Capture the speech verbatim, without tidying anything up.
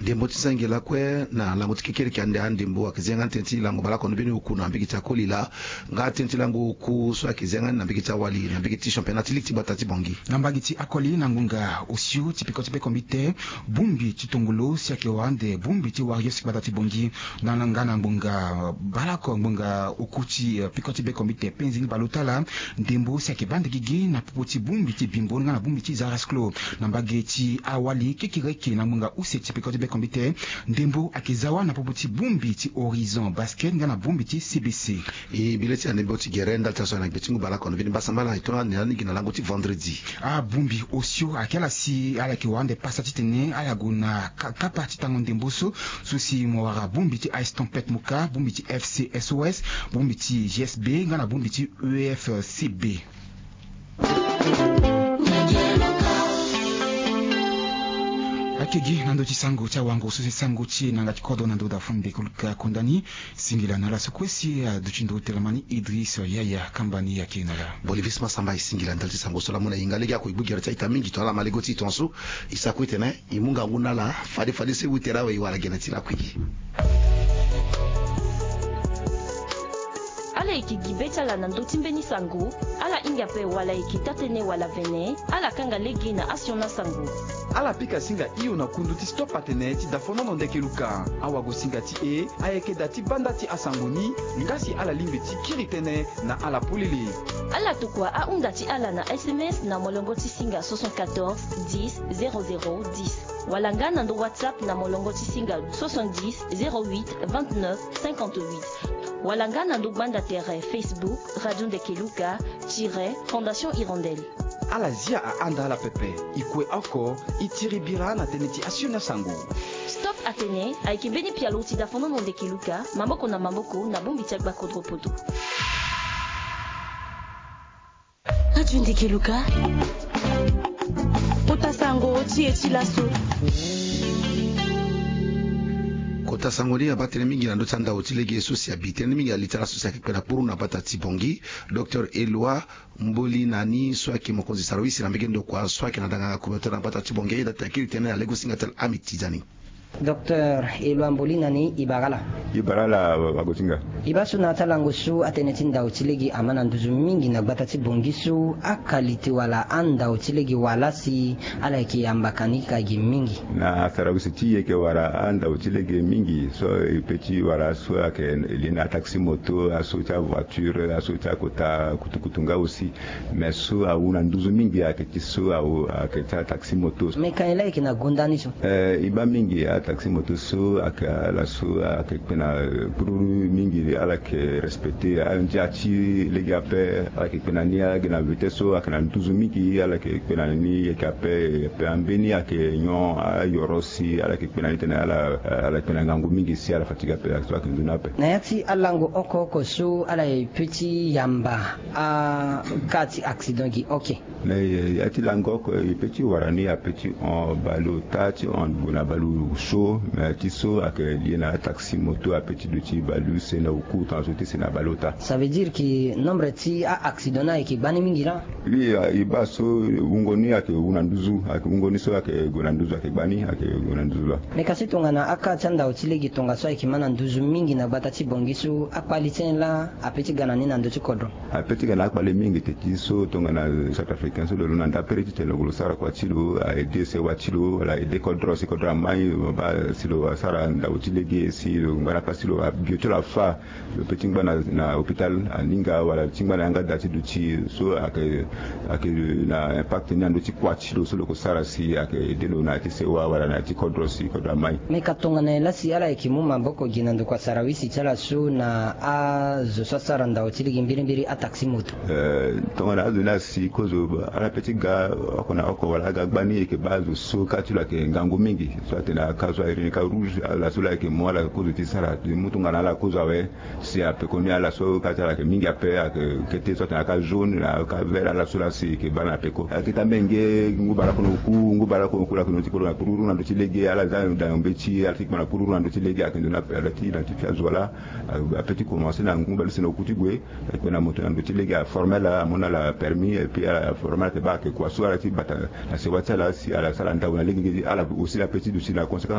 Ndembo ti senge lakue na lango ti kekereke ande andembo ayeke zi yanga ni tënë ti lango baleoko ni mbeni oku na mbege ti akoli laa. Nga tënë ti lango oku so ayeke zi yanga ni na mbege ti awali na mbege ti championnat ti ligue ti gbata ti Bangui. Na mbage ti akoli na ngonga osio ti peko ti bekombite, bongbi ti tongolo si ayeke wara ande bongbi ti Warriors ti gbata ti Bangui. Na nga na ngonga baleoko ngonga oku ti peko ti bekombite penzi ni baleota laa, ndembo si ayeke baa ande gigi na popo ti bongbi ti Bimbo nga na bongbi ti Zarasclo. Na mbage ti awali kekereke na ngonga use ti peko ti bekombite, ndembo ayeke za wâ na popo ti bongbi ti Horizon Basket nga na bongbi ti C B C. E bi le ti andembo ti gere ndali ti aso na gbe ti ngu baleoko na mbeni mbasambala e tongana ni gi na lango ti vendredi. Abongbi osio ayeke ala si ala yeke wara ande pasa titene ala gue na ka- kapa ti tango ndembo so, so si mo wara bongbi ti Ice Tempête Moka, bongbi ti F C S O S, bongbi ti G S B nga na bongbi ti E F C B. Ayeke gi na ndö ti sango ti awango so si sango ti e na yanga ti kodro na ndö da fo ndeke luka kunda ni. Singila na ala so kue si aduti ndo telamani Idriss Yaya kamba ni ayeke na ala. Bolivis Masamba e singila ndali ti sango so laa mo na e hinga lege ako e gbu gere ti a-ita mingi tongana ala ma lege ti e tongaso. E sa kue tene e mu ngangu na ala fade fade so e ute rawe e wara gene ti lakui. Ala yeke gi be ti ala na ndö ti mbeni sango. Ala hinga ape wala e yeke taa-tënë wala vene, ala kanga lege na asioni asango. Ala pika singa hio na kundu ti Stop Atene ti dafonono ndeke luka. Awagosinga ti e ayeke da ti banda ti asango ni. Nga si ala lingbi ti kiri tënë na ala polele. Ala tokua ahunda ti ala na S M S na molongo ti singa soixante-quatorze dix zéro zéro dix, wala nga na ndo WhatsApp na molongo ti singa soixante-dix zéro huit vingt-neuf cinquante-huit, wala nga na ndo gbanda tere Facebook Radio Ndeke Luka tiret Fondation Hirondelle. Ala zia ahanda ala pepe. E kue oko, e tiri bira na tënë ti asioni asango. Stop Atene ayeke mbeni pialo ti dafonono ndeke luka, maboko na maboko na bongbi ti agba kodro poto. Radio Ndeke Luka. Kota sango ti e ti laso. Kota sango ni abaa tënë mingi na ndö ti andao ti lege so si abi tënë mingi ali ti ala so si ayeke kpe na kpuru na gbata ti Bangui, Docteur Eloi Mboli na ni so ayeke mokonzi sarawisi na mbege ndokua so ayeke na danganga communautaire na gbata ti Bangui, e da ti akiri tënë na lege ti singa ti ala Ahmed Tidjani. Docteur Eloi Mboli na ni, e bara ala. E bara ala, wa- wagosinga. E baa so na ya ti alango so atënë ti ndao ti lege ama na nduzu mingi na gbata ti Bangui so, akalite wala andao ti lege wala si ala yeke yamba ka ni ka gi mingi. Na sarawisi ti e yeke wara andao ti lege mingi so e pe ti wara so ayeke li na ataxi moto, aso ti avoiture, aso ti akota kutukutu nga aussi. Mais so awu na nduzu mingi ayeke ti so awu ayeke ti ataxi moto. Mais ka nyen la e yeke na gonda ni so? Eh, e baa mingi ataxi moto so ayeke ala so ayeke kpe na, eh, kpururu mingi, ala yeke respecter andia ti lege ape. Ala yeke kpe na ni, ala yeke na vitesse so ayeke na nduzu mingi, ala yeke kpe na ni yeke ape. Ape ambeni ayeke nyon ayoro si ala yeke kpe na ni tene ala, eh, ala yeke kpe na ngangu mingi si ala fatigue ape, so ayeke nzoni ape. Na ya ti alango oko oko so ala ye pe ti yamba aka ti accident gi oke. Na ya ti lango oko e pe ti wara ni ape ti hon baleota ti hon gue na baleuse so, mais ti so ayeke lie na ataxi moto ape ti duti baleuse na oku tongaso ti si na baleota. Ça veut dire que nombre ti a-accident ni ayeke gbani mingi laa? Oui, e baa so wungo ni ayeke wu na nduzu, ayeke wungo ni so ayeke gue na nduzu ayeke gbani, ayeke gue na nduzu laa. Mais kasi tongana aka ti andao ti lege tongaso ayeke ma na nduzu mingi na gbata ti Bangui so, akpali ti nyen laa ape ti ga na ni na ndö ti kodro? Ape ti ga na akpali mingi te ti so tongana Centrafricain so lo londo na ndapere titene lo sara kua ti lo, a-aider sewa ti lo wala a-aider kodro si kodro amai, baa si lo asara ndao ti lege si lo ngba na pasi ti lo, abio ti lo afa, lo pe ti ngba na, na hôpital aninga wala ti ngba na yanga da ti duti so ayeke, ayeke na impact ni na ndö ti kua ti lo so lo yeke sara si ayeke aider lo na ya ti sewa wala na ya ti kodro si kodro amai. Mais ka tongana nyen la si ala yeke mu maboko gi na ndokua sarawisi ti ala so na azo so asara ndao ti lege mbirimbiri ataxi moto? Eh, tongana azo ni asi kozo, ala pe ti ga oko na oko wala aga gbani, e yeke baa azo so ka ti lo ayeke ngangu mingi. So atene aka so airi ni ka rouge, ala so la ayeke mu ala kozo ti sara, e mu tongana ala kozo awe. Si apeko ni ala so ka ti ala ayeke mingi ape, ayeke kete so atene aka jaune, aka vert, ala so la si e yeke baa na peko. Ayeke ti ambenge ngu baleoko na oku, ngu baleoko na oku, ala yeke na ndö ti kpururu na ndö ti lege, ala za dayong mbeti, ala ti kpa na kpururu na ndö ti lege, ayeke nzoni ape, ala ti na ti fi azo wala. Ape ti commencer na ngu baleuse na oku ti gue, ayeke na moto na ndö ti lege, aforme ala, amu na ala permis, et puis ala forme ala te baa ayeke kua so ala ti bata na sewa ti ala si ala sara ndau na lege, ala aussi la pe ti duti na conséquence.